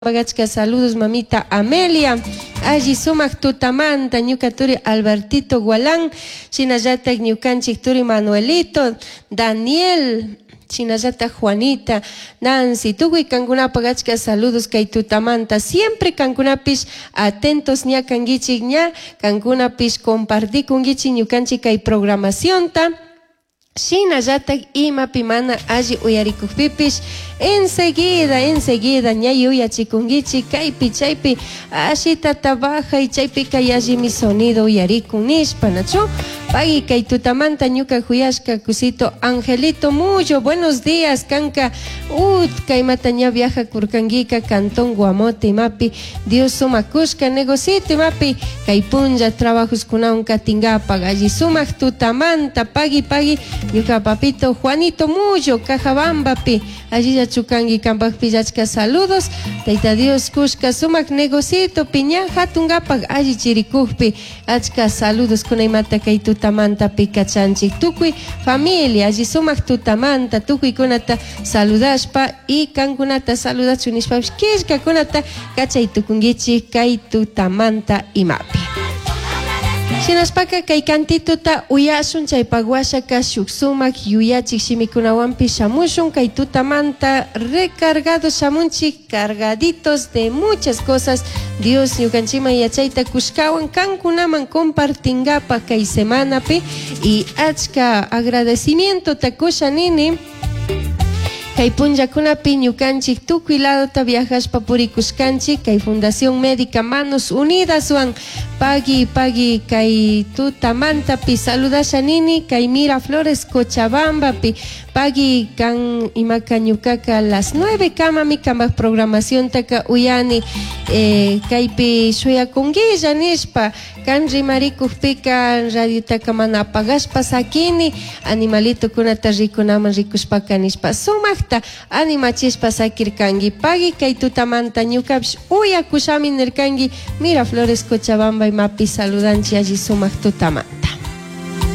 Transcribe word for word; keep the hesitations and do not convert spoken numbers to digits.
Achka saludos mamita Amelia, alli sumak tutamanta ñuka turi Albertito Gualán, shinallatak ñukanchik turi Manuelito, Daniel, shinallatak Juanita, Nancy, tukuy kankunapak achka saludos kay tutamanta, siempre kankunapish atentos ña kankichik ña, kankunapish compartikunkichik ñukanchik kay programacionta. Shinallatak imapi mana alli uyarikukpipish enseguida, enseguida ña yuyachikunkichik kaypi chaypi ashitata bajay chaypika yallimi sonido uyarikun nishpa, nachu? Pagui kay tutamanta ñuka juyashka kusito Angelito Mullo, buenos días, kanka ut kaymata ña viaja kurkankika cantón Guamote imapi Dios sumakushka negocito imapi kay punlla trabajos kunawan katinkapak alli sumak tutamanta pagui pagui ñuka papito Juanito Mullo Cajabambapi allilla chukanki kanpakpi achka saludos Tayta Dios kushka sumak negocito piña hatunkapak alli chirikukpi achka saludos kunaymata kay tutamanta pikachanchik tukuy familia alli sumak tutamanta tukuykunata saludashpa y kankunata saludachun nishpapish killkakunata kachay tukunkichik kay tutamanta imapi. Shinashpaka kay kantituta uyashun chaypak washaka shuk sumak yuyachik shimikunawanpish shamushun kay tutamanta recargado shamunchik cargaditos de muchas cosas Dios ñukanchikman yachayta kushkawan kankunaman compartingapak kay semanapi y achka agradecimiento kusha nini kay punllakunapi ñukanchik tukuy ladota viajashpa purikushkanchik kay Fundación Médica Manos Unidas wan pagui pagui kay tutamantapi saludasha nini kay Miraflores Cochabambapi pagui kan imaka ñukaka las nueve kamami kanpak programaciontaka uyani eh, kaypi shuyakunguilla nishpa kan rimarikukpika radiotaka mana apagashpa sakini animalitokunata rikunaman rikushpaka nishpa sumakta animachishpa sakirkanki pagui kay tutamanta ñukapish uyakushami nirkanki Miraflores Cochabamba imapi saludanchik alli sumak tutamanta.